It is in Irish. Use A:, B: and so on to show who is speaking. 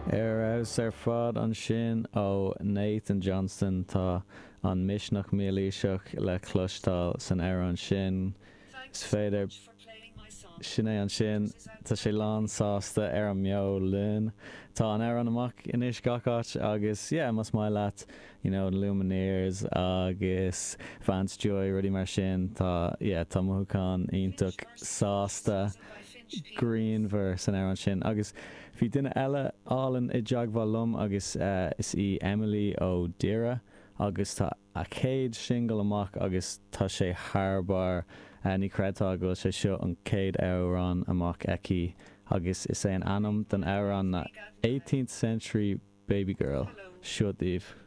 A: Ar fheabhas ar fad ansin ó Nathan Johnston. Tá an misneach mílaoiseach le cloisteáil san amhrán sin. Is féidir. Sin é ansin. Tá sé lán sásta ar an mbeo linn. Tá an amhrán amach anois gach áit agus yeah más maith leat you know Lumineers agus Vance Joy rudaí mar sin tá yeah tá mothúchán iontach sásta grianmhar san amhrán sin. Agus bhí duine eile álainn i dteagmháil liom agus is í Emily ó Doire agus tá a céad singil amach agus tá sé thar barr. Ní chreidfeá go bhfuil sé seo an chéad amhrán amach aici agus is é an ainm don amhrán ná Eighteenth Century Babygirl. Seo daoibh.